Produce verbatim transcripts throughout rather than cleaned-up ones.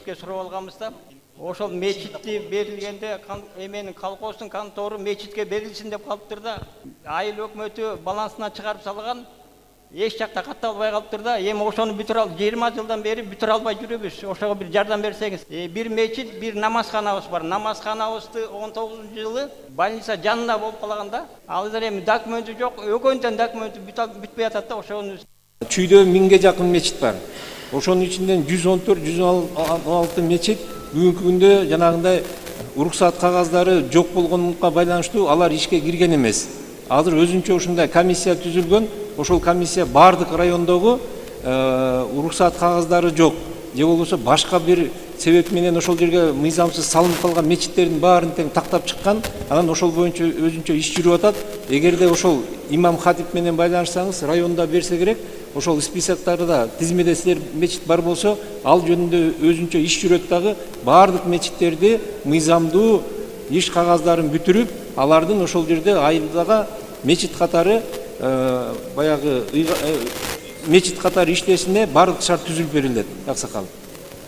мечитке сурап алганбыз да. Ошол мечитти берилгенде эменин колхоздун контору мечитке берилсин деп калыптыр да. Айыл өкмөтү балансына чыгарып салган. Эч жакта катталбай калыптыр да. Эми ошону бүтүрө ал жыйырма жылдан бери бүтүрө албай жүрүбүз. Ошого бир жардам берсеңиз. Э, бир мечит, бир намазханабыз бар. Намазханабызды он тогузунчу жылы больница жанында болуп калганда, азыр эми документи жок, өгөндөн документи бүтпөй атат да. Ошону Чүйдө миңге жакын мечит бар. Ошонун ичинен жүз он төрт жүз он алты мечит бүгүнкү күндө жанагындай уруксат кагаздары жок болгонунга байланыштуу алар ишке кирген эмес. Азыр өзүнчө ушундай комиссия түзүлгөн. Ошол комиссия бардык райондогу уруксат кагаздары жок же болбосо башка бир себеп менен ошол жерге мыйзамсыз салынып калган мечиттердин баарын тең тактап чыккан. Анан ошол боюнча өзүнчө иш жүрүп атат. Эгерде ошол имам хатип менен байланышсаңыз, районда берсе керек, ошол списоктарда тизмеде силер мечит бар болсо, ал жөнүндө өзүнчө иш жүрөт дагы. Бардык мечиттерди мыйзамдуу иш кагаздарын бүтүрүп, алардын ошол жерде айылдагы мечит катары баягы мечит катары иштесине бардык шарт түзүлүп берилет. Аксакал,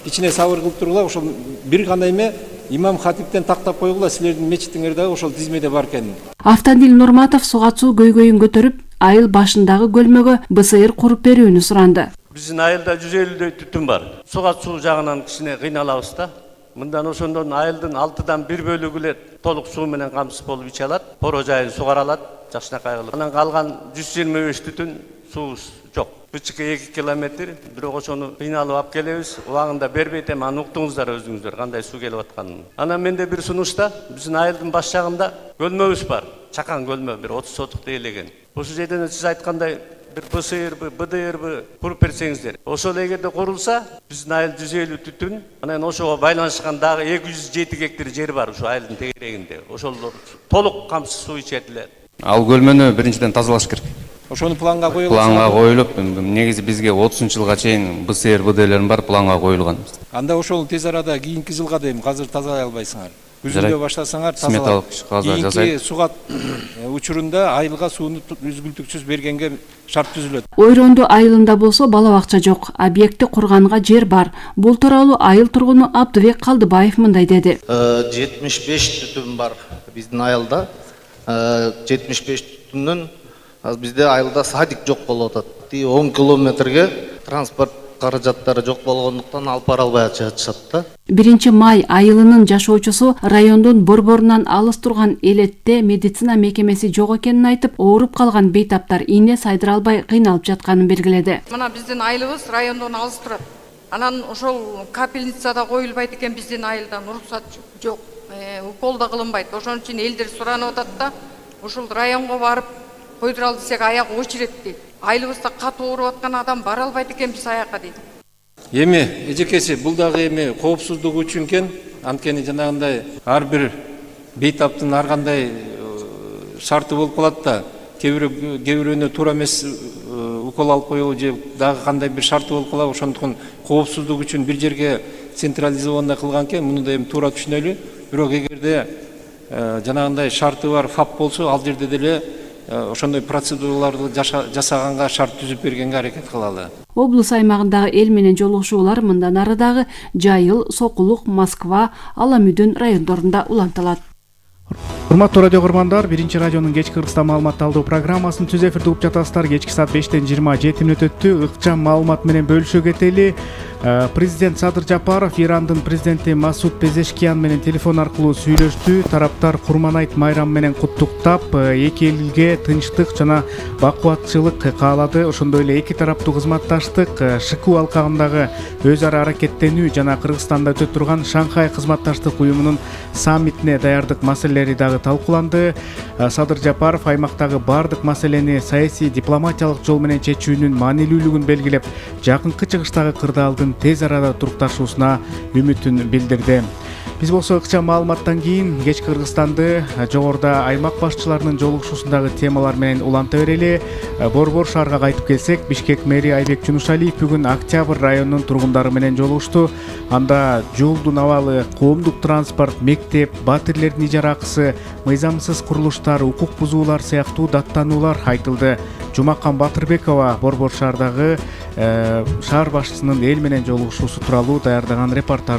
кичине сабыр кылып тургула, ошол бир гана эме имам хатиптен тактап койгула, силердин мечитиңер дагы ошол тизмеде бар экенин. Автандил Нурматов суга суу көйгөйүн көтөрүп, айыл башындагы көлмөгө БСР куруп берүүнү суранды. Биздин айылда жүз элүүдөй түтүн бар. Суга суу жагынан кичине кыйналабыз да. Мындан ошондон айылдын алтыдан бир бөлүгү эле толук суу менен камсыз болуп иче алат, поро жайын сугаралат, жакшынакай кылып. Анан калган жүз жыйырма беш түтүн суубуз жок. Бычыкы эки километр, бирок ошону кыйналып алып келебиз. Убагында бербейт, эми аны уктуңуздар өзүңүздөр кандай суу келип атканын. Анан менде бир сунушта биздин айылдын баш жагында көлмөбүз бар. Чакан көлмө, бир отуз сотук тейлеген. Ошол жерден сиз айткандай бир БСРбы, БДРбы куруп берсеңиздер. Ошол эгерде курулса, биздин айыл жүз элүү түтүн, анан ошого байланышкан дагы эки жүз жети гектар жер бар ушу айылдын тегерегинде. Ошолор толук камсыз суу ичет эле. Ал көлмөнү биринчиден тазалаш керек. Ошону планга коюлган. Планга коюлуп, негизи бизге отузунчу жылга чейин БСР, БДРлерин бар планга коюлган. Анда ошол тез арада кийинки жылга дейм, азыр тазалай албайсыңар. Күзүндө баштасаңар тазалап. Сметалык кагаздар жасайт. Кийинки суга учурунда айылга сууну үзгүлтүксүз бергенге шарт түзүлөт. Ойронду айылында болсо бала бакча жок, объекти курганга жер бар. Бул тууралуу айыл тургуну Абдыбек Калдыбаев мындай деди. жетимиш беш түтүн бар биздин айылда. жетимиш беш түтүндөн бизде айылда садик жок болуп атат. он километрге транспорт каражаттары жок болгондуктан алып бара албай жатышат да. биринчи май айылынын жашоочусу райондун борборунан алыс турган Элетте медицина мекемеси жок экенин айтып, ооруп калган бейтаптар ийне сайдыра албай кыйналып жатканын белгиледи. Мына биздин айылыбыз райондон алыс турат. Анан ошол капельницада коюлбайт экен биздин айылдан, уруксат жок, укол да кылынбайт. Ошон үчүн элдер суранып атат да, ушул районго барып койдура ал десек аяк очерет дейт. Айылыбызда катуу ооруп аткан адам бара албайт экен биз аякка дейт. Эми эжекеси бул дагы эми коопсуздук үчүн экен. Анткени жанагындай ар бир бейтаптын ар кандай шарты болуп калат да. Кээ бирөөнө туура эмес укол алып коюу же дагы кандай бир шарты болуп калат. Ошондуктан коопсуздук үчүн бир жерге централизованный кылган экен. Муну да эми туура түшүнөлү. Бирок эгерде жанагындай шарты бар ФАП болсо, ал жерде деле ошондой процедураларды жасаганга шарт түзүп бергенге аракет кылалы. Облус аймагындагы эл менен жолугушуулар мындан ары дагы Жайыл, Сокулук, Москва, Аламүдүн райондорунда улантылат. Урматтуу радио көргөндөр, биринчи радионун кечки Кыргызстан маалымат алуу программасын түз эфирде угуп жатасыздар. Кечки саат бештен жыйырма жети мүнөт өттү. Ыкчам маалымат менен бөлүшө кетели. Президент Садыр Жапаров Ирандын президенти Масуд Пезешкиян менен телефон аркылуу сүйлөштү. Тараптар Курманайт майрамы менен куттуктап, эки элге тынчтык жана бакубатчылык каалады. Ошондой эле эки тараптуу кызматташтык, ШКУ алкагындагы өз ара аракеттенүү жана Кыргызстанда өтө турган Шанхай кызматташтык уюмунун саммитине даярдык маселелери дагы талкууланды. Садыр Жапаров аймактагы бардык маселени саясий дипломатиялык жол менен чечүүнүн маанилүүлүгүн белгилеп, жакынкы чыгыштагы кырдаалдын тез арада турукташуусуна үмүтүн билдирди. Биз болсо ыкчам маалыматтан кийин кечки Кыргызстанды жогоруда аймак башчыларынын жолугушуусундагы темалар менен уланта берели. Борбор шаарга кайтып келсек, Бишкек мэри Айбек Жунушалиев бүгүн Октябрь районунун тургундары менен жолугушту. Анда жолдун абалы, коомдук транспорт, мектеп, батирлердин ижара акысы, мыйзамсыз курулуштар, укук бузуулар сыяктуу даттануулар айтылды. Жумакан Батырбекова Борбор шаардагы шаар башчысынын эл менен жолугушуусу тууралуу даярдаган репортаж